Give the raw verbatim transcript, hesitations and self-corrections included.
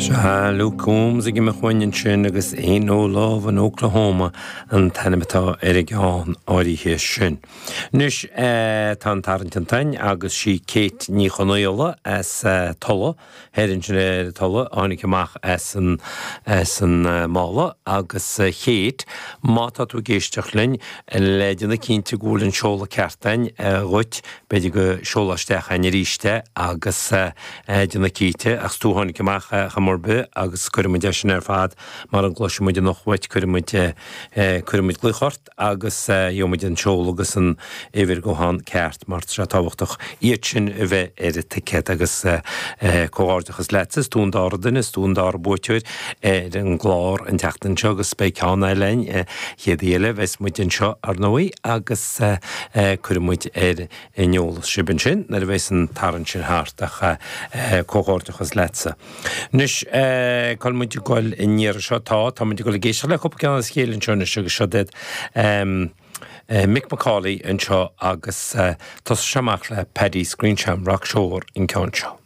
Sea, Luke Combs ag imeacht uainn ansin agus Ain't No Love in Oklahoma an t-ainm atá ar an gceann áirithe sin. Anois tá an tarraingt déanta againn agus sí Kate Ní Chonaola as Tulla, thoir ansin ar Tulla, a tháinig amach as an as an mála agus a Kate, má tá tú ag éisteacht linn, le déanamh cinnte go bhfuil an seoladh ceart againn dhuit, b'fhéidir go seolfá isteach chugainn arís é agus déanamh cinnte, ach is tú a tháinig amach chuma ar bith agus cuirfidh muid é sin ar fad mara gcloisfidh muid anocht uait, cuirfidh muid, cuirfidh muid glaoch ort agus gheobhaidh muid an seoladh agus an uimhir gutháin ceart mar tá sé tábhachtach iad sin a bheith ar an ticéad agus comhghairdeachas leatsa, is tú an dara duine, is tú an dara buaiteoir ar an gclár an tseachtain seo agus beidh ceann eile againn an chéad oíche eile, bheas muid anseo ar ndóigh agus cuirfidh muid ar an eolas sibh ansin nuair a bheas an tarraingt sin thart ach comhghairdeachas leatsa. Anois cá bhfuil muid ag goil an iarraidh seo? Tá, tá muid ag goil ag éisteacht le cúpla ceann as a chéile anseo anois agus seo iad Mick McCauley anseo agus tosóidh sé amach le Paddy's Green Shamrock Shore an ceann seo.